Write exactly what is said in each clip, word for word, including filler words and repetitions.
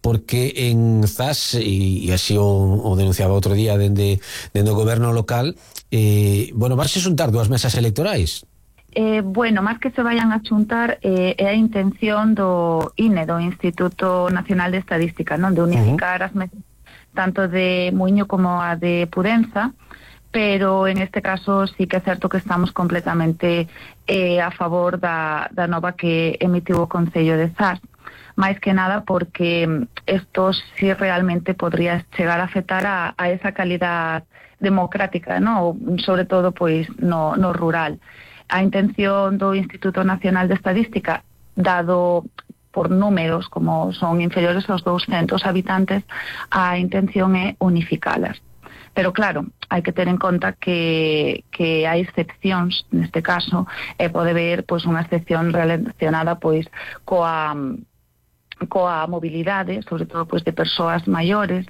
porque en Zas, e, e así o, o denunciaba outro día dende, dende o goberno local, eh, bueno, vas a xuntar dúas mesas electorais. Eh, bueno, máis que se vayan a xuntar eh, é a intención do I N E, do Instituto Nacional de Estadística, non, de unificar uh-huh. as mesas tanto de Muiño como a de Pudenza, pero en este caso sí que é certo que estamos completamente eh, a favor da, da nova que emitiu o Concello de Zas, máis que nada porque isto sí realmente podría chegar a afectar a, a esa calidad democrática, ¿no? Sobre todo pois no, no rural. A intención do Instituto Nacional de Estadística, dado por números como son inferiores aos douscentos habitantes, a intención é unificalas. Pero claro, hai que ter en conta que, que hai excepcións neste caso, e pode ver pois unha excepción relacionada pois coa coa mobilidade, sobre todo pois de persoas maiores.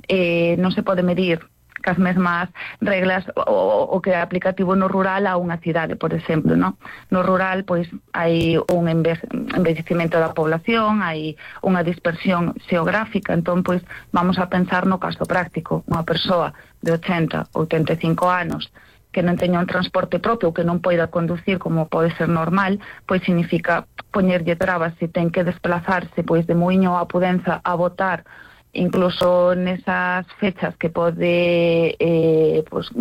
Eh, non se pode medir cas mesmas reglas o, o que é aplicativo no rural a unha cidade, por exemplo, ¿no? No rural, pois, hai un envellecimento da población, hai unha dispersión xeográfica, entón, pois, vamos a pensar no caso práctico. Unha persoa de ochenta, oitenta e cinco anos que non teña un transporte propio, que non poida conducir como pode ser normal, pois significa poñerlle trabas se ten que desplazarse pois de Muiño a Pudenza a votar, incluso nesas fechas que pode eh, pues,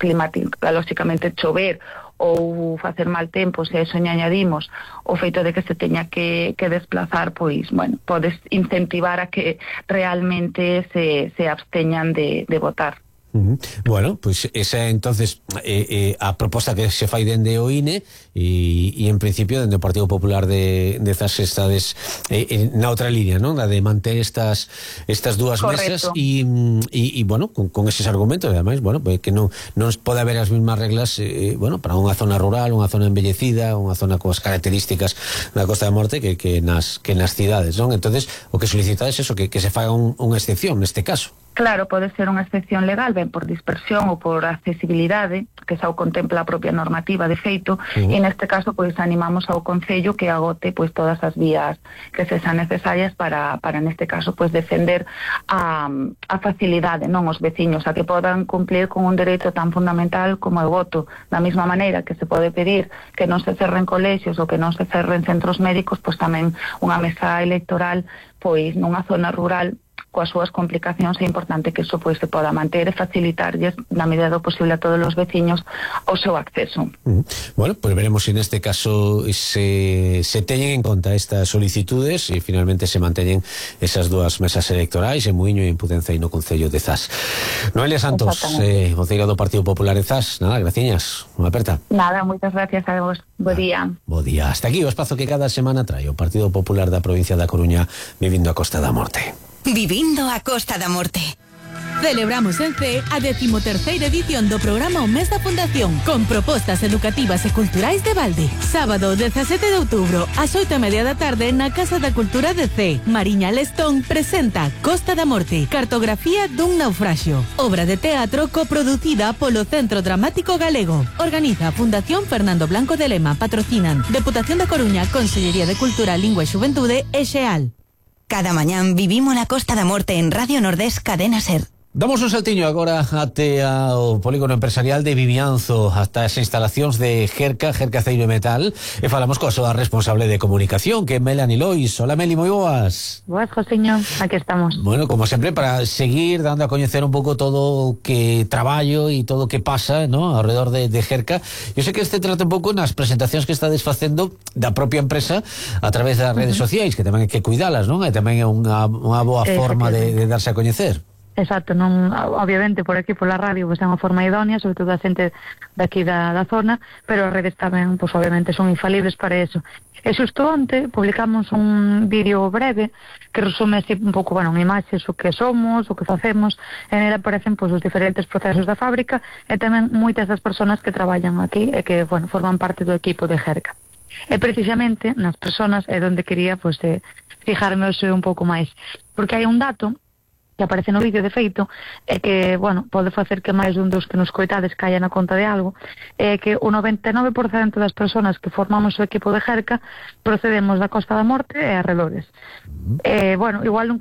climatolóxicamente chover ou facer mal tempo, se a eso añadimos o feito de que se teña que, que desplazar, pois, bueno, podes incentivar a que realmente se, se absteñan de, de votar. Uh-huh. Bueno, pois pues esa entonces eh, eh, a proposta que se fai dende o I N E e, e en principio dende o Partido Popular de, de Zas estades eh, na outra línea, non? A de manter estas estas dúas mesas e, e, e bueno, con, con eses argumentos, ademais, bueno, pues que non, non pode haber as mesmas reglas eh, bueno, para unha zona rural, unha zona embellecida, unha zona coas características da Costa da Morte que, que, nas, que nas cidades, non? Entonces, o que solicitades é eso, que, que se faga un, unha excepción neste caso. Claro, pode ser unha excepción legal, ben por dispersión ou por accesibilidade, que xa o contempla a propia normativa de feito, uh-huh. e neste caso pois animamos ao Concello que agote pois todas as vías que se sean necesarias para, para neste caso pois defender a, a facilidade, non, os veciños, a que podan cumplir con un dereito tan fundamental como o voto. Da mesma maneira que se pode pedir que non se cerren colexios ou que non se cerren centros médicos, pois tamén unha mesa electoral pois nunha zona rural coas súas complicacións é importante que iso pois se poda manter e facilitarlles na medida do posible a todos os veciños o seu acceso. Uh-huh. Bueno, pois pues veremos se si neste caso se, se teñen en conta estas solicitudes e finalmente se manteñen esas dúas mesas electorais en Muiño e en Pudenza e no Concello de Zas. Noelia Santos, eh, voceira do Partido Popular de Zas, nada, graciñas, unha aperta. Nada, moitas gracias a vos. Bo día. Bo día. Hasta aquí o espazo que cada semana trae o Partido Popular da provincia da Coruña vivindo a Costa da Morte. Vivindo a Costa da Morte. Celebramos en C a decimoterceira edición do programa O Mes da Fundación, con propostas educativas e culturais de balde. Sábado dezasete de outubro, ás oito e media da tarde, na Casa da Cultura de C. Mariña Lestón presenta Costa da Morte, cartografía dun naufraxio. Obra de teatro coproducida polo Centro Dramático Galego. Organiza a Fundación Fernando Blanco de Lema. Patrocinan Deputación da Coruña, Consellería de Cultura, Lingua e Xuventude e Xeal. Cada mañán vivimos la Costa da Morte en Radio Nordés Cadena Ser. Damos un saltiño agora até ao polígono empresarial de Vimianzo, hasta as instalacións de Jerca, Jerca Aceiro e Metal, e falamos coa súa responsable de comunicación, que é Melanie Lois. Hola, Meli, moi boas. Boas, Josiño, aquí estamos. Bueno, como sempre, para seguir dando a coñecer un pouco todo o que traballo e todo o que pasa, ¿no?, alrededor de, de Jerca. Eu sei que este trata un pouco nas presentacións que estades facendo da propia empresa a través das redes uh-huh. sociais, que tamén hai que cuidalas, non? E tamén é unha, unha boa forma de, de darse a coñecer. Exacto, non, obviamente por aquí pola radio pois é unha forma idónea, sobre todo a xente daqui da, da zona, pero as redes tamén, pois obviamente son infalibles para eso. E xusto onte publicamos un vídeo breve que resume así un pouco, bueno, en imaxes o que somos, o que facemos, e nela aparecen pois os diferentes procesos da fábrica e tamén moitas das persoas que traballan aquí e que, bueno, forman parte do equipo de Jerca. E precisamente nas persoas é onde quería pois eh, fijarme un pouco máis, porque hai un dato que aparece no vídeo de feito é que, bueno, pode facer que máis dun dos que nos coitades caia na conta de algo, é que o noventa e nove por cento das persoas que formamos o equipo de Jerca procedemos da Costa da Morte e arredores. E, bueno, igual non